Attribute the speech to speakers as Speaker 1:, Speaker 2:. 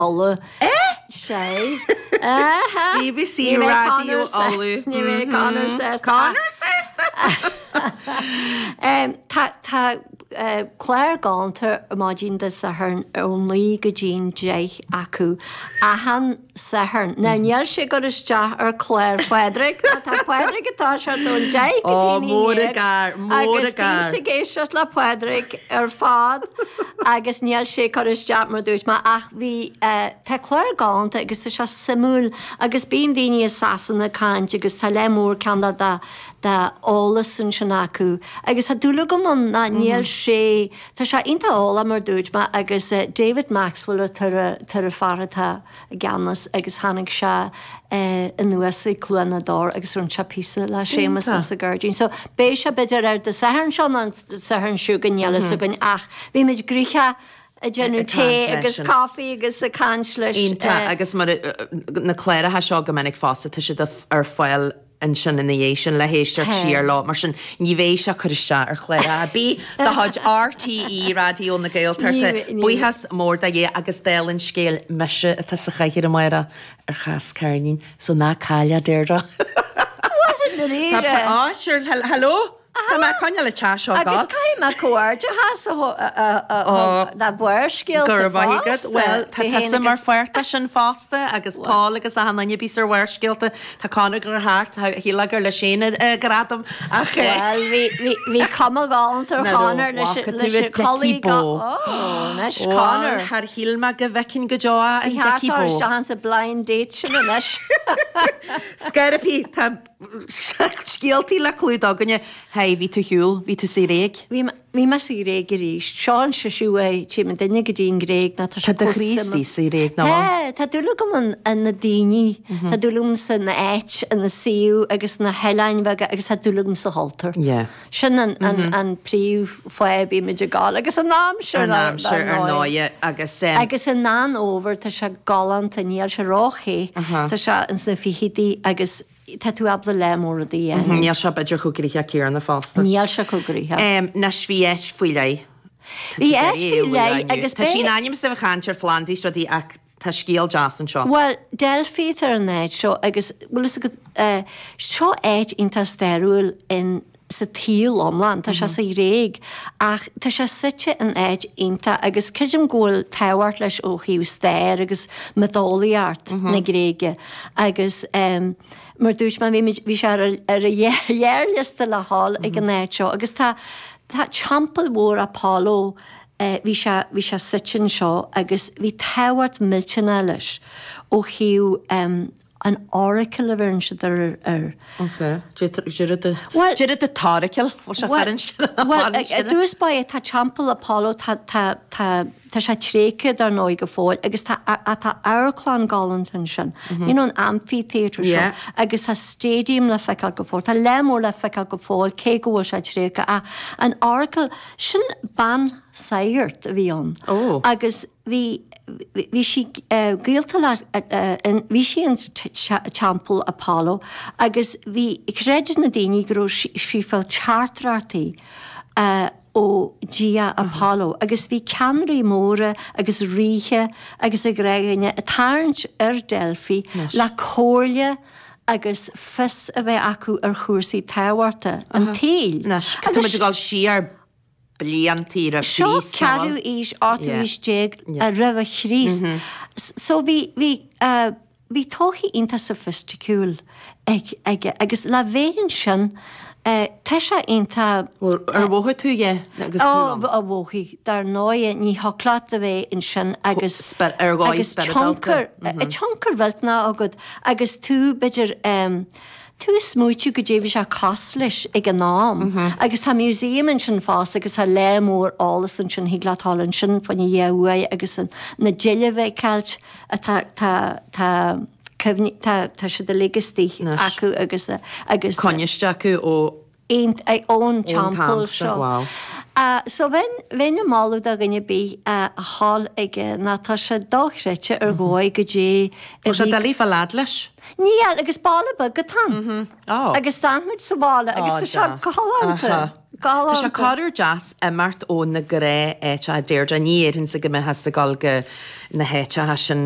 Speaker 1: Uladh.
Speaker 2: Eh?
Speaker 1: Sé. Aha!
Speaker 2: BBC Raidió Uladh.
Speaker 1: Ní bheidh Conor sásta.
Speaker 2: Conor sásta!
Speaker 1: Tá tá clár galánta ar maidin Dé Sathairn ón 9 go dtí'n 10 acu achan Satharn. Now níl sé ag cur isteach ar chlár Phádraig ná tá Pádraig ag toiseacht ón 10 go
Speaker 2: Ó,
Speaker 1: dtí'n
Speaker 2: mór
Speaker 1: 11
Speaker 2: an gar, mór an
Speaker 1: agus
Speaker 2: gar.
Speaker 1: bímse ag éisteacht le Pádraig ar fad agus níl sé ag cur isteach mar dúirt mé ach bhí eh tá clár galánta agus tá sé suimiúil agus bíonn daoine i Sasana ag caint agus tá lear mór ceann de de de eolas ansin acu agus tá dúil agam ann ná níl sé tá sé iontach eolach mar dúirt mé agus eh David Maxwell atá ar a tá ar an fear atá i gceannas agus tháinig sé anuas ag Cluain na dTor agus rinne sé píosa le Séamus sa ghairdín. So beidh sé b'fhéidir ar Dé Sathairn seo nó an Satharn seo chugainn níl fhios againn ach bhí muid gnoitheach ag déanamh tae agus coffee agus ag caint leis.
Speaker 2: Iontach agus mar na cláracha seo go minic fosta tá siad ar fáil ansin ina dhiaidh sin le héisteacht siar leo. Mar sin, ní bheidh sé ag cur isteach ar chlár ar bith de chuid RTÉ Raidió na Gaeltachta. Buíochas mór do Dhia agus dála an scéil, mise atá sa chathaoir amárach ar Chás Ceirnín, so ná caill é, Deirdre.
Speaker 1: Bhuel, i ndáiríre.
Speaker 2: Á, sure, hello? Tá mé ag coinneáil an teach seo ag
Speaker 1: Agus
Speaker 2: gabháil.
Speaker 1: caithfidh mé comhghairdeachas a thug le Barrscéalta
Speaker 2: Go raibh maith agat.
Speaker 1: fosta.
Speaker 2: Bhuel, tá
Speaker 1: Bhí féin
Speaker 2: tusa mar
Speaker 1: agus.
Speaker 2: pháirt de sin fosta agus Paul agus achan duine a bhíos ar Bharrscéalta. Tá Conor ag gabháil thart, shílfeá gur leis féin an gradam ach.
Speaker 1: Bhuel, bhí, bhí, bhí cuma ghalánta ar
Speaker 2: Ná raibh,
Speaker 1: Chonor leis,
Speaker 2: bhfaca tú
Speaker 1: leis
Speaker 2: a
Speaker 1: an
Speaker 2: Dickie
Speaker 1: culaith
Speaker 2: Bó.
Speaker 1: Ó, anois
Speaker 2: Bhuel,
Speaker 1: Conor.
Speaker 2: char shíl mé go bhfeicfinn go deo an
Speaker 1: Bhí thart
Speaker 2: Dickie
Speaker 1: ar
Speaker 2: Bó.
Speaker 1: isteach insa blind date sin anois.
Speaker 2: Scairpí, tá Scéaltaí le clúdach againne. Hey, bhí tú ar shiúl, bhí tú sa Ghréig.
Speaker 1: Bhí, bhí mé sa Ghréig arís. Seo an seisiú é, tchím an duine go dtí an Ghréig ná tá sé
Speaker 2: Tá do
Speaker 1: chomh
Speaker 2: chroí
Speaker 1: suimiúil.
Speaker 2: istigh sa Ghréig, nach bhfuil?
Speaker 1: Tá, tá dúil agam in, in na daoine, tá dúil agam san áit, ina suíomh agus na hoileáin bheaga agus tá dúil agam sa chultúr.
Speaker 2: Yeah.
Speaker 1: Sin an, an, an príomh fáth a bímid ag gabháil agus an aimsir
Speaker 2: An
Speaker 1: ar,
Speaker 2: aimsir
Speaker 1: ar
Speaker 2: ar
Speaker 1: ndóigh.
Speaker 2: ndóighe agus em.
Speaker 1: Agus i an fhómhar tá sé galánta, níl sé ró-the, tá sé ins na fichidí agus Tá tú ábalta lear mór rudaí a dhéanamh.
Speaker 2: Níl sé b'fhéidir chomh gnoitheach céanna fosta.
Speaker 1: Níl sé chomh gnoitheach.
Speaker 2: Anois bhí áit faoi leith.
Speaker 1: Bhí áit faoi leith agus
Speaker 2: Tá sí in ainm is a bheith ag caint ar phlandaí is rudaí ach tá scéal deas anseo.
Speaker 1: Bhuel, Delphi atá ar an áit seo agus bhfuil fhios agat, seo áit iontach stairiúil in sa tsaol iomlán. Tá sé sa Ghréig ach tá sé suite in áit iontach agus creidim go bhfuil tábhacht leis ó thaobh stair agus miotaseolaíocht na Gréige agus mar dúirt mé bhí muid, bhí sé ar ar an ghearrliosta le dhul ag an áit seo agus tá tá teampall mhór Apollo bhí sé bhí sé suite anseo agus bhí tábhacht millteanach leis ó thaobh an oracle a bheireann siad air.
Speaker 2: Ok. Deireadh de t-oracle. Bhfuil sé
Speaker 1: Bhuel,
Speaker 2: fearann
Speaker 1: i dtús báire tá Teampall Apollo, tá, tá, tá, tá sé tréigthe dar ndóigh go fóill agus tá, tá amharclann galánta ansin. You know an amphitheatre seo. Agus tá stadium le feiceáil go fóill. Tá lear mór le feiceáil go fóill cé go bhfuil sé tréigthe ach an oracle, sin bean saghart a bhí ann. Agus Bhí, bhí sí gaolta le, bhí sí in Teampall Apollo agus bhí, chreid na daoine go raibh sí ag fáil teachtaireachtaí ó Dhia Apollo agus bhí ceannairí móra agus ríthe agus a gnáthdhaoine ag tarraingt ar Delphi le comhairle agus fios a bheith acu ar chúrsaí tábhachta an tsaoil.
Speaker 2: Anois, tá muid ag dul siar bliantaí roimh
Speaker 1: Seo
Speaker 2: Chríost, nó
Speaker 1: ceathrú aois, ochtú aois déag roimhe Chríost. So bhí, bhí, bhí todhchaí iontach soifisticiúil ag, aige agus le bheith ansin, tá sé iontach.
Speaker 2: Bhuel, ar mhothaigh tú é agus tú ann?
Speaker 1: Ó, mhothaigh, dar ndóighe, ní thiocfadh leat a bheith ansin agus,
Speaker 2: ar dhóigh
Speaker 1: agus
Speaker 2: spioradálta.
Speaker 1: tionchar, tionchar mhillteanach agat agus tú, b'fhéidir, Tú ag smaoitiú goidé bhí sé cosúil leis ag an am agus tá museum ansin fosta agus tá lear mór eolas ansin, thig leat dul ansin fá choinne dhá uair agus an, na deilbh a fheiceáilt atá, tá, tá cuimhní, tá, tá siad uilig istigh acu agus, agus.
Speaker 2: Coinniste acu ó.
Speaker 1: ón teampall seo.
Speaker 2: Wow.
Speaker 1: So bheinn, bheinn ag moladh do dhuine ar bith a dhul aige nó tá sé dochreidte ar dhóigh goidé a
Speaker 2: Tá sé
Speaker 1: bhí.
Speaker 2: doiligh fáil fhad leis.
Speaker 1: Níl, agus baile beag atá ann.
Speaker 2: Oh.
Speaker 1: Agus d'fhan muid sa bhaile agus
Speaker 2: Oh,
Speaker 1: tá sé
Speaker 2: deas.
Speaker 1: galánta.
Speaker 2: Aha. Tá sé corruair deas imeacht ó na gnáth-áiteacha Deirdre, ní dhéarfainnse go mbeifeása ag dul go na háiteacha sin.